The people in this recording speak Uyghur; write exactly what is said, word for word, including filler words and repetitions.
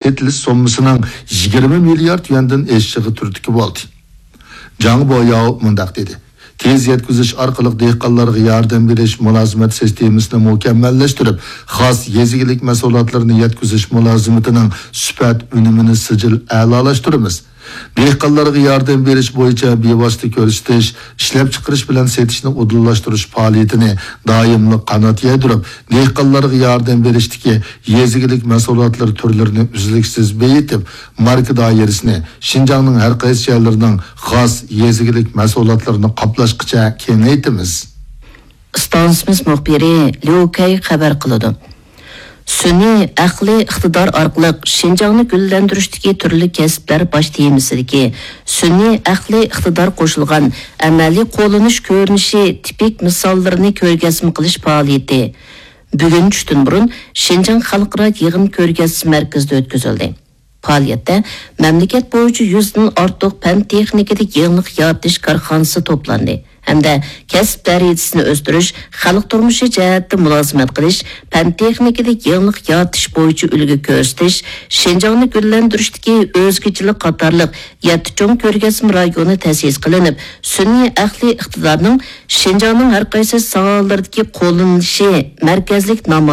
ئېتىلىش سوممىسىنىڭ يىگىرمە مىليارد يۈەندىن ئېشىشىغا تۈرتكە بولدى. جاڭ بوياۋ مۇنداق دېدى: تېز يەتكۈزۈش ئارقىلىق دېھقانلارغا ياردەم بېرىش مۇلازىمەت سىستېمىسىنى مۇكەممەللەشتۈرۈپ، خاس يېزا ئىگىلىك مەھسۇلاتلىرىنى يەتكۈزۈش مۇلازىمىتىنىڭ سۈپەت ئۈنۈمىنى سىجىل ئەلالاشتۇرىمىز. دېھقانلارغا ياردەم بېرىش بويىچە بىۋاسىتە كۆرسىتىش، ئىشلەپچىقىرىش بىلەن سېتىشنى ئۇدۇللاشتۇرۇش پائالىيىتىنى دائىملىق قانات يايدۇرۇپ، دېھقانلارغا ياردەم بېرىشتىكى يېزا ئىگىلىك مەھسۇلاتلىرى تۈرلىرىنى ئۈزلۈكسىز بېيىتىپ، ماركا دائىرىسىنى شىنجاڭنىڭ ھەر قايسى جايلىرىنىڭ خاس يېزا ئىگىلىك مەھسۇلاتلىرىنى قاپلاشقىچە كېڭەيتىمىز. ئىستانسىمىز مۇخبىرى ليۇ كەي خەۋەر قىلىدۇ. سۈنئىي ئەقلىي ئىقتىدار ئارقىلىق شىنجاڭنى گۈللەندۈرۈشتىكى تۈرلۈك كەسىپلەر باش تېمىسىدىكى سۈنئىي ئەقلىي ئىقتىدار قوشۇلغان ئەمەلىي قوللىنىش كۆرۈنۈشى تىپىك مىساللىرىنى كۆرگەزمە قىلىش پائالىيىتى بۈگۈن چۈشتىن بۇرۇن شىنجاڭ خەلقئارا يىغىن كۆرگەزمە مەركىزىدە ئۆتكۈزۈلدى. پائالىيەتتە مەملىكەت بويىچە يۈزدىن ئارتۇق پەن تېخنىكىدا يېڭىلىق يارىتىش كارخانىسى توپلاندى ھەمدە كەسىپ دەرىجىسىنى ئۆستۈرۈش، خەلق تۇرمۇشى جەھەتتە مۇلازىمەت قىلىش، پەن تېخنىكىدا يېڭىلىق يارىتىش بويىچە ئۈلگە كۆرسىتىش، شىنجاڭنى گۈللەندۈرۈشتىكى ئۆزگىچىلىك قاتارلىق يەتتە چوڭ كۆرگەزمە رايونى تەسىس قىلىنىپ، سۈنئىي ئەقلىي ئىقتىدارنىڭ شىنجاڭنىڭ ھەر قايسى ساھەلىرىدىكى قوللىنىلىشى مەركەزلىك نامايىش